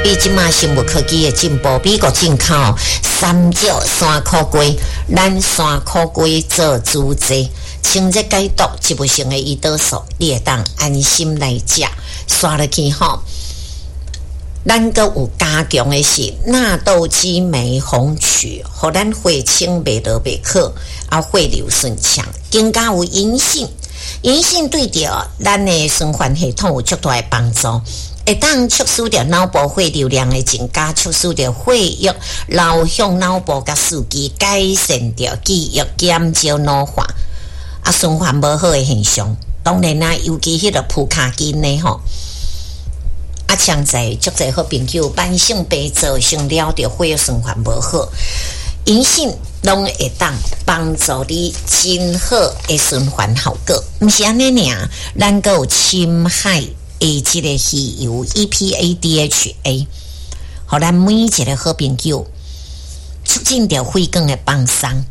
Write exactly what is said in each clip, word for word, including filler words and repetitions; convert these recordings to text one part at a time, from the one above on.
比這馬生物科技的進步，美國進口三石山苦瓜，咱山苦瓜做主劑，清熱解毒，植物性的胰島素，你會當安心來食，刷落去吼。咱閣有加強的是納豆激酶紅曲，予咱血清袂落袂去，啊血流順暢，更加有銀杏，銀杏對著咱的循環系統有足大的幫助，會當促使著腦部血流量的增加，促使著血液流向腦部佮四肢，改善著記憶，減少腦化，啊循環無好的現象。當然啦，尤其彼個普卡金的吼。啊，像在足濟好朋友慢性病造成了著血液循環無好，銀杏攏會當幫助你真好的循環效果。毋是按呢爾，咱閣有深海的這个魚油 E P A D H A，予咱每一个好朋友促進著血管的放鬆，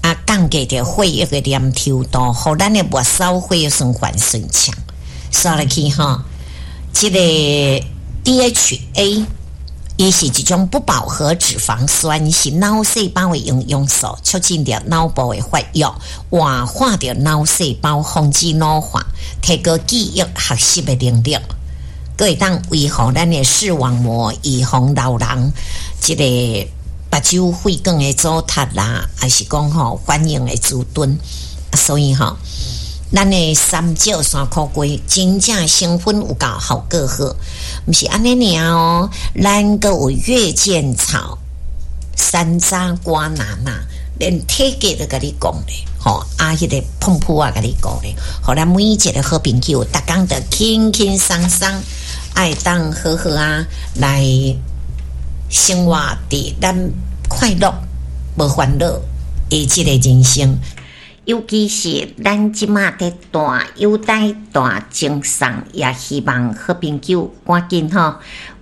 啊，降低著血液的黏稠度，予咱的末梢血液循環順暢。刷落去吼。這个 D H A，伊是一種不飽和脂肪酸，是腦細胞的營養素，促進著腦部的發育，活化著腦細胞，防止老化，提高記憶學習的能力，閣會當維護咱的視網膜，預防老人這个目睭血管的阻塞啦，抑是講吼反應的遲鈍，所以吼，咱的三石山苦瓜真正成分有夠效果好，毋是按呢爾哦。咱閣有月見草、山楂、瓜拿納，連體格都共你講咧，吼啊！彼个膨噗仔共你講咧，予咱每一个好朋友，逐工都輕輕鬆鬆，會當好好啊來生活佇咱快樂無煩惱的這个人生。尤其是咱這馬佇大優待大贈送，也希望好朋友趕緊吼。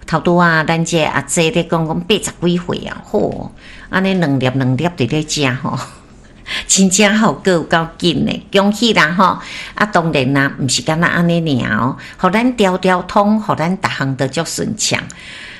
頭拄仔咱這阿姐咧講講八十幾歲啊，吼，按呢兩粒兩粒佇咧食吼，真正效果有夠緊的，恭喜啦吼！啊，當然啦，毋是干焦按呢爾哦，予咱條條通，予咱逐項都足順暢。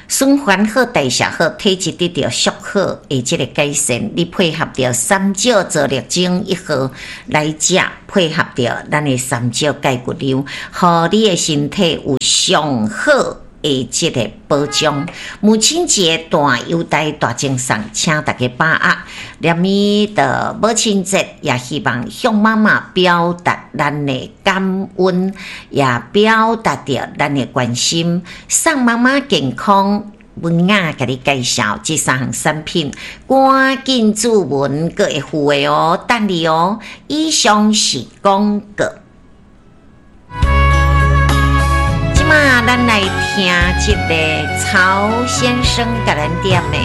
循環好，代謝好，體質得著足好的這个改善，你配合著三石皂綠精一號來食，配合著咱的三石鈣骨油，予你的身體有上好的這个保障。母親節大優待大贈送，請大家把握。連咪的母親節，也希望向媽媽表達咱的感恩，也表達著咱的關心，送媽媽健康。文雅共你介紹這三項產品，趕緊注文，閣會付的哦，等你哦。以上是廣告。這馬咱來聽這个曹先生共咱點的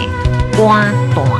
歌單。